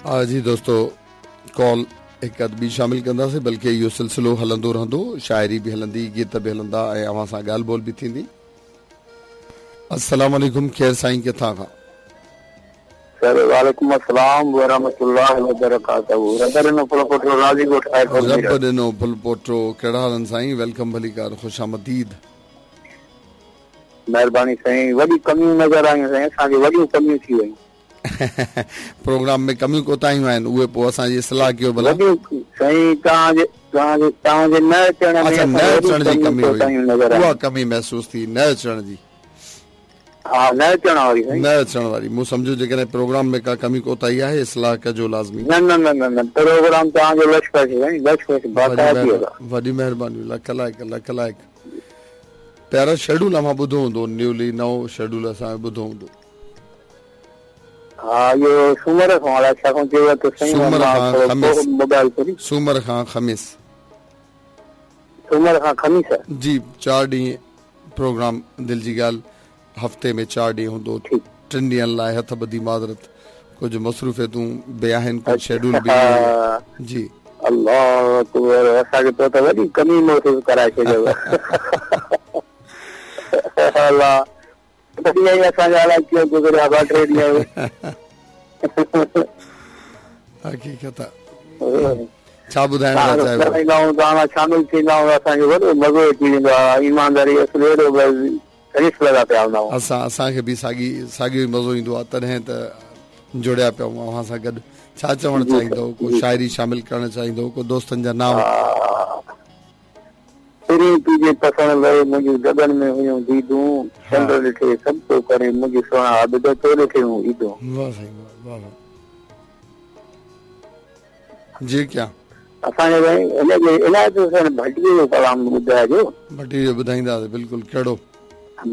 جي دوستو ڪال هڪ اڌ ٻي شامل ڪنداسين بلڪه اهو سلسلو هلندو رهندو شاعري به هلندي گيت به هلندا ۽ اوهان سان ڳالهه ٻولهه به ٿيندي السلام عليڪم ڪير سائين ڪٿان کان. سر وعليڪم السلام ورحمة الله وبرڪاته رب ڏنو ڦلپوٽو راضي ڳوٺ خيرپور رب ڏنو ڦلپوٽو ڪهڙا حال آهن سائين welcome ڀليڪار خوش آمديد. مهرباني سائين وڏي ڪميون نظر آيون سائين اسان کي وڏيون ڪميون ٿي ويون. پروگرام ۾ ڪميون ڪوتاهيون آهن اهي پوء اسان جي اصلاح ڪيو ڀلا. وڏيون سائين توهان جي توهان جي توهان جي نه اچڻ ۾ اڇا نه اچڻ جي ڪمي هئي اها ڪمي محسوس ٿي نه اچڻ جي. ها نه اچڻ واري سائين. نه اچڻ واري مون سمجهيو جيڪڏهن پروگرام ۾ ڪا ڪمي ڪوتاهي آهي اصلاح ڪجو لازمي. نه نه نه نه نه پروگرام توهان جو لش پش سائين لش پش باقاعدي ادا. وڏي مهرباني لک لائق لک لائق پيارا شيڊول اوهان ٻڌو هوندو نيولي نئون شيڊول اسان جو ٻڌو هوندو. ها اهو سومر کان الائي ڇا کان چيو ته سائين سومر کان خميس موبائل کولي سومر کان خميس سومر کان خميس جي چار ڏينهن پروگرام دل جي ڳالهه هفتي ۾ چار ڏينهن هوندو ٽن ڏينهن لاء هٿ ٻڌي معذرت ڪجهه مصروفيتون به آهن ڪجهه شيڊول به جي الله اڪبر اسان کي تو ته وڏي ڪمي محسوس ڪرائي ڇڏيو الله ٻه ڏينهن ئي اسان جا الائي ڪيئن گذريا ٻه ٽي ڏينهن حقيقت آ ڇا ٻڌائڻ ٿا چاهيو ڳالهائيندا آهيون توهان سان شامل ٿيندا آهيون اسان کي وڏو مزو اچي ويندو آهي ايمانداري اصل اهڙو بس شريف لڳا پيا هوندا آهيون اسان اسان کي به ساڳي ساڳيو ئي مزو ايندو آهي تڏهن ته جڙيا پيا آهيون اوهان سان گڏ ڇا چوڻ چاهيندو ڪو شاعري شامل ڪرڻ چاهيندو ڪو دوستن جا نانء پرين تنهنجي پسڻ لئه منهنجون دڳن ۾ هيون ديدون، چنڊ ڏٺي سڀ ڪو ڪري منهنجي سهڻا عابد تو ڏٺي هون عيدون. واه سائين واه واه واه جي ڪيا. اسان کي سائين هن جي عنايت حسين ڀٽيء جو ڪلام ٻڌائجو. ڀٽيء جو ٻڌائينداسين بلڪل ڪهڙو.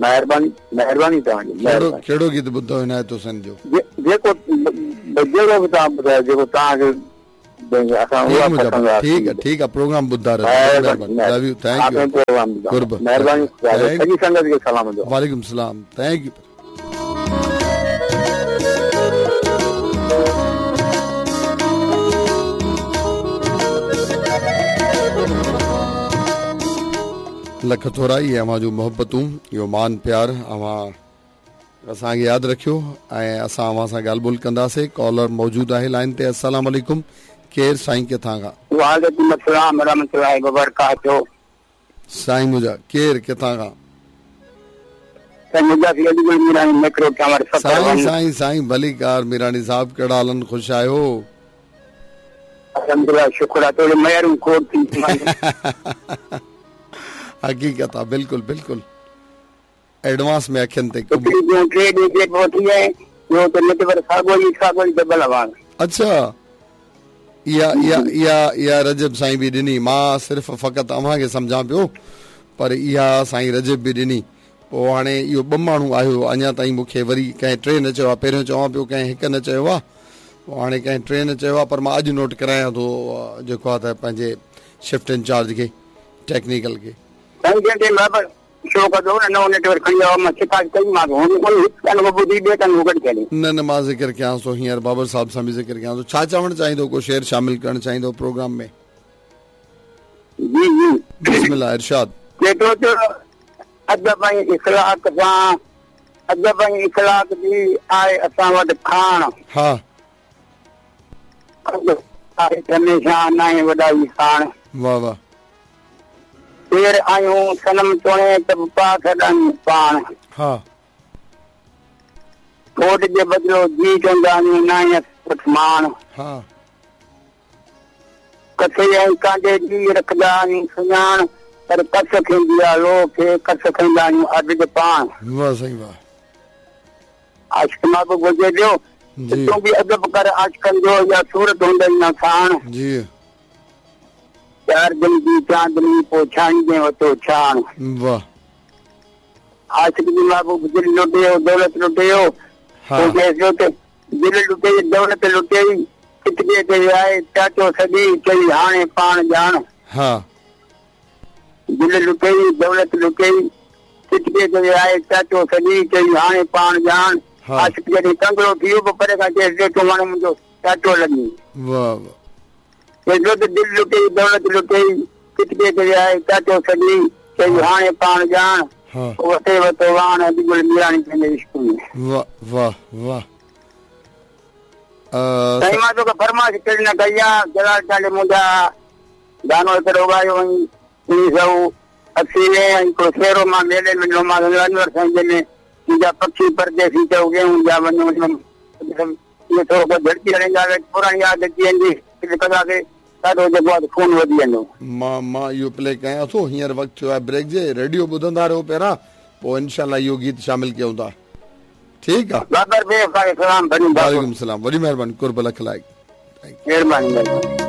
مهرباني مهرباني توهان جي ڪهڙو ڪهڙو گيت ٻڌو عنايت حسين جو. جيڪو جهڙو به توهان ٻڌايو جيڪو توهان کي ٺيڪ آ ٺيڪ آ پروگرام ٻڌندا رهجو لو you thank you قرب مهرباني سڄي سنگت کي سلام وعليڪم السلام thank you lakh ٿورا اهي اوهان جون محبتون اهو مان پيار اوهان اسان کي ياد رکيو ۽ اسان اوهان سان ڳالهه ٻولهه ڪنداسي ڪالر موجود آهي لائن تي السلام عليڪم ڪير سائين ڪٿان کان. وعليڪم السلام ورحمة الله وبرڪاته. سائين منهنجا ڪير ڪٿان کان. سائين منهنجا في علي گل ميراڻي ميڪرو ٽاور سکر سائين سائين سائين ڀليڪار ميراڻي صاحب ڪهڙا حال آهن خوش آهيو. الحمدلله شڪر آ توڙي ميارون کوڙ ٿي حقيقت آ بلڪل بلڪل. ايڊوانس ۾ اکين تي ڪم. هڪڙي ڏينهن ٽي ڏينهن جي پوء ٿي آئين ٻيو ته نيٽ ورڪ ساڳو ئي ساڳو ئي دٻل آواز. اڇا اها اها اها اها رجب سائين به ڏني مان صرف فقط اوهان کي سمجهان پيو پر اها سائين رجب به ڏني پوء هاڻي اهو ٻه ماڻهو آهيو اڃا تائين مون کي وري ڪنهن ٽي نه چيو آهي پهريون چوان پيو ڪنهن هڪ نه چيو آهي پوء هاڻي ڪنهن ٽي نه چيو آهي پر مان اڄ نوٽ ڪرايان ٿو جيڪو آهي ته پنهنجي شفٽ انچارج کي ٽيڪنيڪل کي. سائين جنهن ٽيم بابا شو ڪندو نه نئون نيٽ ورڪ کڻي آيو مان شڪايت ڪئي مانس هن ڪونه هڪ ڪن کان ٻڌي ٻئي ڪن کان ڪڍي ڇڏي. نه نه مان ذڪر ڪيانس ٿو هينئر بابر صاحب سان به ذڪر ڪيان ٿو ڇا چوڻ چاهيندو ڪو شعر شامل ڪرڻ چاهيندو پروگرام ۾. جي جي. بسم الله ارشاد. چئي ٿو ته ادب ۽ اخلاق سان ادب ۽ اخلاق جي آهي اسان وٽ کاڻ. ها. ادب آهي هميشه ناهي وڏائي ساڻ. واه واه. پير آهيون صنم توڻي ته به پاڪ سڏايون پاڻ. ها. ڪوٽ جي بدلو جي چوندا آهيون ناهي اسان وٽ ماڻ. ها. ڪسي ۽ ڪانڊي جي رکندا آهيون سڃاڻ پر ڪس کيندي آ لوهه کي ڪس کيندا آهيون عابد پاڻ. واه سائين واه. عاشق محبوب هجي پيو ته تون به ادب ڪر عاشقن جو اها صورت هوندئي نه ساڻ. جي. چار دن جي چاندني پوء ڇاڻيندين وتو ڇاڻ. واه. عاشق جي محبوب دل لٽيو دولت لٽيو پوء چيس پيو ته دل لٽيئي دولت لٽيئي چٽڪي تي ويائي چاچو سڏي چئي هاڻي پاڻ ڄاڻ. ها. دل لٽيئي دولت لٽيئي چٽڪي تي ويائي چاچو سڏي چئي هاڻي پاڻ ڄاڻ. عاشق جڏهن ڪنگرو ٿي ويو پوء پري کان چيس ڏي تون هاڻي منهنجو. چاچو لڳي. واهه واهه. چئي ٿو ته دل لٽيئي دولت لٽيئي چٽڪي تي ويهائي چاچو سڏي چئي هاڻي پاڻ ڄاڻ وسي وتو واڻ علي گل ميراڻي پنهنجي عشق ۾. واهه واهه واهه. سائين مان توکي فرمائش ڪهڙي نه ڪئي آ جلال چانڊيي منهنجا گانو هڪڙو ڳايو هئين 1980 ۾ ۽ هڪڙو سهرو مان ميلي ۾ ڏنو مان انور سائين جنهن ۾ منهنجا پکي پرديسي چئو گيهون جا وڃو اهو ٿورو ڪو جهڙڪي هڻي ڳاوي پراڻي ياد اچي ويندي ڪنداسي ڏاڍو جيڪو آهي خون وڌي ويندو. مان مان اهو پلي ڪيان ٿو هينئر وقت ٿيو آهي بريڪ جي ريڊيو ٻڌندا رهو پيارا پوء انشاء الله اهو گيت شامل ڪيون ٿا ٺيڪ آ. بابر بي سلام وعليڪم سلام وڏي مهرباني قرب لک لائق مهرباني مهرباني.